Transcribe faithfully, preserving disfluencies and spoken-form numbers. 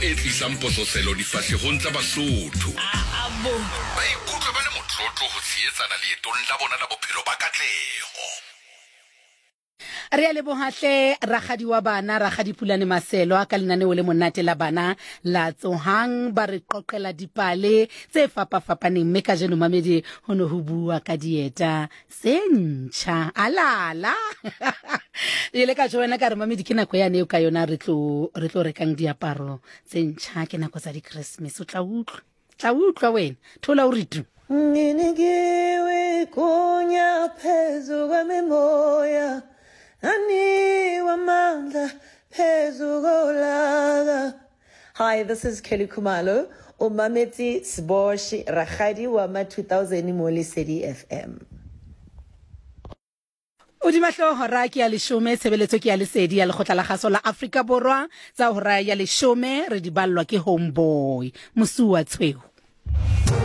e tlisang pososelo difahlehong tsa Basotho. Ba ikutlwe ba le motlotlo ho tshehetsana leetong la bona la bophelo ba katleho. Re a leboha hle rakgadi wa bana, Rakgadi Pulane Maselwa, ka lenaneo le monate la bana la Tsohang. Ba re qoqela dipale tse fapafapaneng, mme kajeno mamedi ho ne ho bua ka dieta tse ntjha. Alala! Ile ka tjho wena ka re mamedi ke nako yane eo ka yona re tlo re tlo rekang diaparo tse ntjha, ke nako tsa di-Christmas. O tla utlwa, tla utlwa wena, thola o re tu. Nginikiwe igunya phezu kwemimoya, anikwa amandla phezu kolaka. Hi, this is Kelly Khumalo. O mametse Sbosh Rakgadi wa ma two thousand mo Lesedi F M. Hodima hlooho hora ke ya leshome, tshebeletso ke ya Lesedi ya Lekgotla la Kgaso la Afrika Borwa. Tsa hora ya leshome re di ballwa ke Homeboy Mosuwa Tshweu.